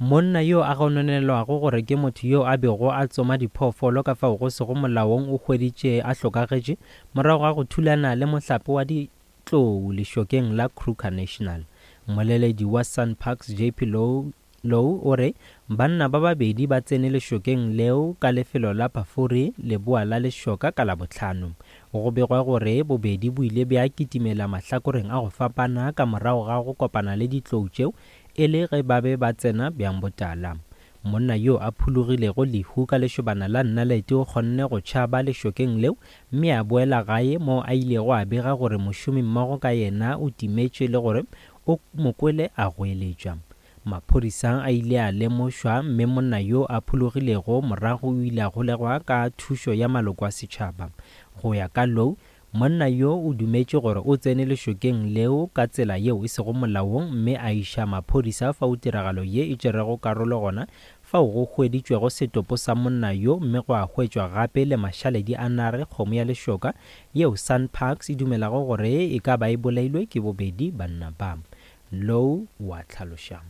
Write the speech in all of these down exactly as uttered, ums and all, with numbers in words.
Monna yo a gononelwago gore ke motho yo a bego a tsoma diphoofolo ka fao go sego molaong o hweditše a hlokagetše morago ga go thulana le mohlape wa ditlou lešokeng la Kruger National. Mmoleledi wa SANParks J P Louw Louw o re banna ba babedi ba tsene lešokeng leo ka lefelo la Pafuri leboa la lešoka ka Labohlano. Go begwa gore bobedi bo ile bja kitimela mahlakoreng a go fapana ka morago ga go kopana le ditlou tšeo e le ge ba be ba tsena bjang botala. Monna yo a phologilego lehu ka lešobana la nnalete o kgonne go tšhaba lešokeng leo mme a boela gae moo a ilego a bega gore mošomimmogo ka yena o timetše le gore o mo kwele a goeletša. Maphodisa a ile a lemošwa mme monna yo a phologilego morago o ile a golegwa ka thušo ya maloko a setšhaba. Go ya ka Louw, monna yo o dumetše gore o tsene lešokeng leo ka tsela yeo e sego molaong mme a iša maphodisa fao tiragalo ye e tšerego karolo gona fao go hweditšwego setopo sa monna yo mme gwa hwetšwa gape le mašaledi a nare kgomo ya lešoka yeo SANParks e dumelago gore e ka ba e bolailwe ke bobedi banna ba. Louw wa hlaloša.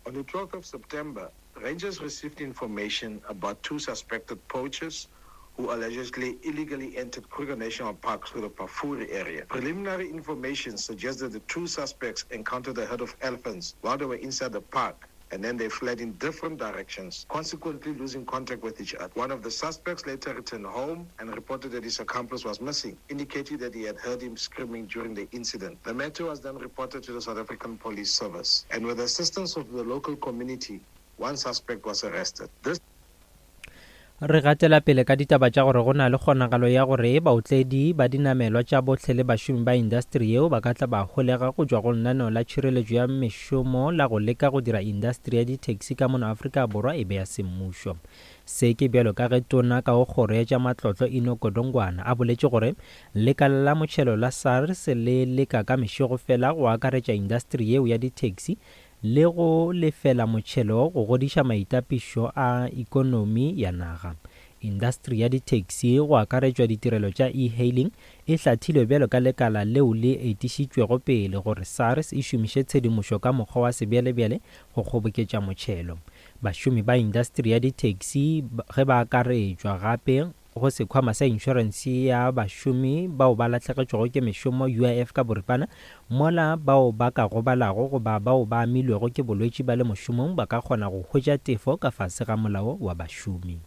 On the twelfth of September, Rangers received information about two suspected poachers who allegedly illegally entered Kruger National Park through the Pafuri area. Preliminary information suggests that the two suspects encountered a herd of elephants while they were inside the park, and then they fled in different directions, consequently losing contact with each other. One of the suspects later returned home and reported that his accomplice was missing, indicating that he had heard him screaming during the incident. The matter was then reported to the South African Police Service, and with the assistance of the local community, one suspect was arrested. This Re gatela pele ka ditaba tša gore go na le kgonagalo ya gore baotledi ba dinamelwa tša bohle le bašomi ba indasteri yeo ba ka tla ba holega go tšwa go lenaneo la tšhireletšo ya mešomo la go leka go dira indasteri ya di-taxi ka mono Afrika Borwa e be ya semmušo. Se ke bjalo ka ge tona ka go kgoro ya tša matlotlo Enoch Godongwana a boletše gore lekala la motšhelo la SARS le leka ka mešego fela go akaretša indasteri yeo ya di-taxi le go lefela motšhelo go godiša maitapišo a ikonomi ya naga. Indasteri ya di-taxi go akaretšwa ditirelo tša e-hailing e hlathilwe bjalo ka lekala leo le etišitšwego pele gore SARS e šomiše tshedimošo ka mokgwa wa sebjalebjale go kgoboketša motšhelo. Bašomi ba indasteri ya di-taxi ge ba akaretšwa gape go sekhwama sa inšorense ya bašomi bao ba lahlegetšwego ke mešomo U I F ka boripana, mola bao ba ka gobalago goba bao ba amilwego ke bolwetši ba le mošomong ba ka kgona go hwetša tefo ka fase ga molao wa bašomi.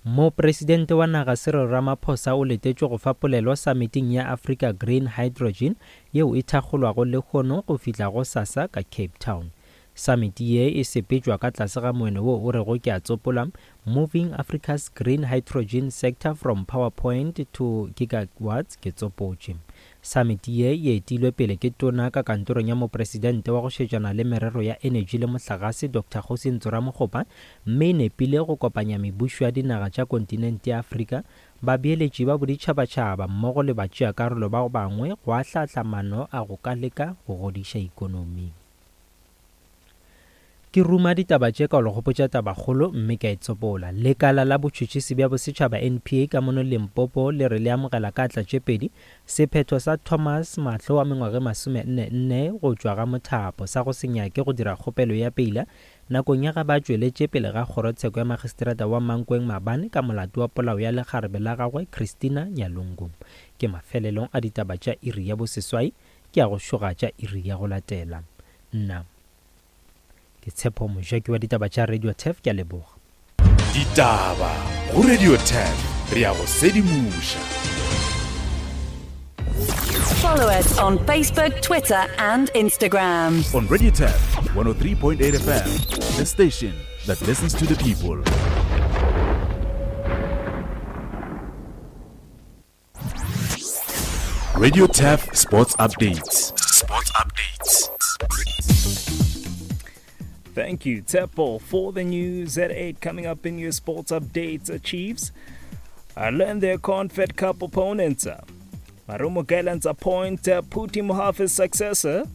Mopresidente wa naga Cyril Ramaphosa o letetšwe go fa polelo summiting ya Africa Green Hydrogen yeo e thakgolwago lehono go fihla go sasa ka Cape Town. Summit ye e sepetšwa ka tlase ga moeno wo o rego ke a tsopola, Moving Africa's Green Hydrogen Sector from PowerPoint to Gigawatts, ke tsopotše. Summit ye e etilwe pele ke tona ka kantorong ya mopresidente wa go šetšana le merero ya energy le mohlagase Doctor Kgosi Ramokgopa, mme e nepile go kopanya mebušo ya dinaga tša kontinente ya Afrika, babeeletši ba boditšhabatšhaba mmogo le batšeakarolo ba bangwe go ahlahla maano a go ka leka go godiša ikonomi. Ke ruma ditaba tše ka go le gopotša tabakgolo mme ka e tsopola. Lekala la botšhotšhisi bja bosetšhaba N P A ka mono Limpopo le re le amogela ka atla tše pedi sephetho sa Thomas Mahlo wa mengwaga e masomenne nne go tšwa ga Mothapo sa go se nyake go dira kgopelo ya peila nakong ya ga ba tšweletše pele ga kgorotsheko ya magistrata wa Mankweng maabane ka molato wa polao ya lekgarebe la gagwe Christina Nyalungu. Ke mafelelong a ditaba tša iri ya boseswai, ke a go šoga tša iri ya go latela. Nna ke Tshepo Mojaki wa ditaba tša Radio Turf, ke a leboga. Ditaba go Radio Turf, re a go sedimoša. Follow us on Facebook, Twitter and Instagram. On Radio Turf one oh three point eight F M, the station that listens to the people. Radio Turf Sports Updates. Sports Updates. Thank you, Tshepo, for the news at eight. Coming up in your sports updates, Chiefs uh, learn their Confed Cup opponents. Marumo Gallants appoint uh, Phuti Mohafe's successor.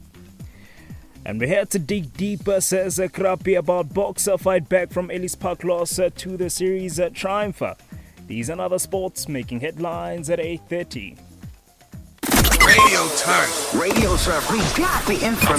And we're here to dig deeper, says Krapi, about Boxer fight back from Ellis Park loss to the series triumph. These and other sports making headlines at eight thirty. Radio Turf. Radio Turf. We got the information.